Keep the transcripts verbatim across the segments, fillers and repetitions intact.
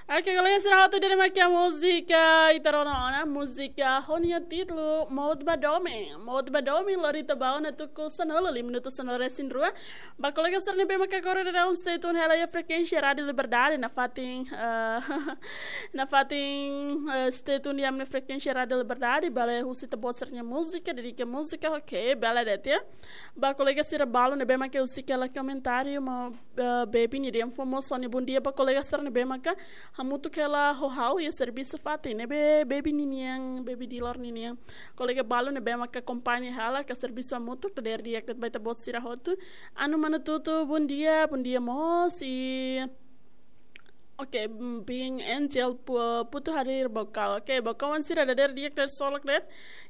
Oke, kolega sira hotu, ida-ne'e mak múzika ita rona ona, múzika ho nia títulu Mout ba Domin. Mout ba Domin, lori ita ba ona tuku sanulu, lima minutu sanulu-resin-rua. Ba kolega sira ne'ebé maka agora daudaun stay tune hela iha frekuénsia Rádiu Liberdade, nafatin, eh, nafatin, eh, stay tune iha ami-nia frekuénsia Rádiu Liberdade, bele husu ita-boot sira-nia múzika, dedika múzika, oke, bele de'it. Ba kolega sira balu ne'ebé maka husik hela komentáriu, maun, eh, Baby nian dehan fó mós ha'u-nia bondia ba kolega sira ne'ebé maka hamutuk hela ho ha'u iha servisu fatin, ne'ebé Baby ninian, Baby Dilor ninian. Kolega balu ne'ebé maka akompaña hela ka servisu hamutuk, dadeer di'ak de'it ba ita-boot sira hotu. Anu Manu Tutu, bondia, bondia mós. I, oke, mm, Bing Angel Pu-, Putu hadir Baucau. Oke, Baucauan sira dadeer di'ak de'it, solok de'it.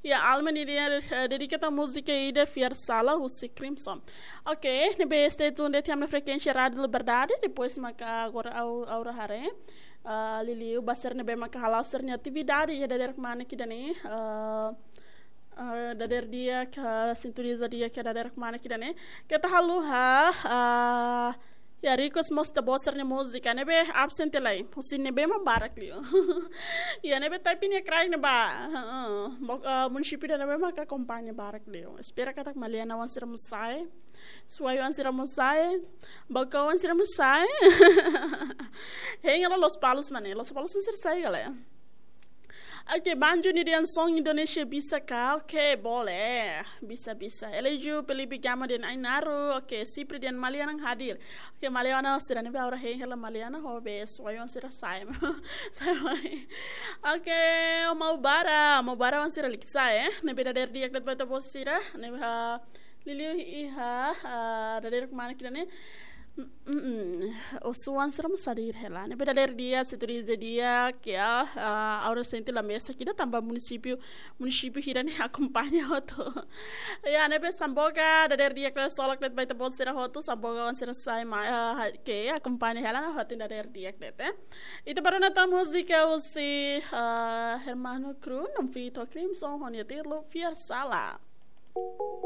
Iha Alma nian dehan, eh, dedika tan múzika ida Fiar Sala husi Crimson. Oke, ne'ebé stay tune de'it iha ami-nia frekuénsia Rádiu Liberdade, depois maka agora ha'u, ha'u haree, ah, liuliu ba sira ne'ebé maka hala'o sira-nia atividade iha dadeer kmanek ida-ne'e, ah, ah, dadeer di'ak, ah, sintoniza di'ak iha dadeer kmanek ida-ne'e. Keta haluha, ah, iha request mós ita-boot sira-nia múzika, ne'ebé absente lai, husi ne'ebé mak barak liu. Iha ne'ebé tapi nia cry ne'ebá. Heeh. Bo-, ah, munisípiu ida ne'ebé maka akompaña barak liu. Espera katak Malianawan sira mós sa'e. Suai-oan sira mós sa'e. Baucauan sira mós sa'e. Hein hela Lospalos mak ne'e. Lospalos sira sa'e ka lae. Oke, Banju nian dehan son Indonézia bisa ka? Oke, boleh. Bisa, bisa. Eleju Felipe Gama dehan Ainaro. Oke, Sipri dehan Maliana hadir. Oke, Maliana sira ne'ebé agora hein hela Maliana, ho be suai-oan sira sa'e. Sa'e mai. Oke, Maubara. Maubarawan sira liki sa'e, eh. Ne'ebé dadeer di'ak de'it ba ita-boot sira. Ne'ebé, ah, liuliu iha, ah, dadeer kmanek ida-ne'e. Mm, mm, mm. Osuan sira mós hadir hela. Ne'ebé dadeer di'ak, sintoniza di'ak, ya, ah, agora sente la mesak ida tanba munisípiu, munisípiu hira ne'e akompaña hotu. Ya, ne'ebé Samboga, dadeer di'ak de'it, solok de'it ba ita-boot sira hotu, Sambogawan sira sa'e mai, ah, ha-, ke akompaña hela, nafatin dadeer di'ak de'it, eh. Ita bá rona tan múzika husi, ah, Hermano Crew, no feat Crimson, ho nia títulu Fiar Sala.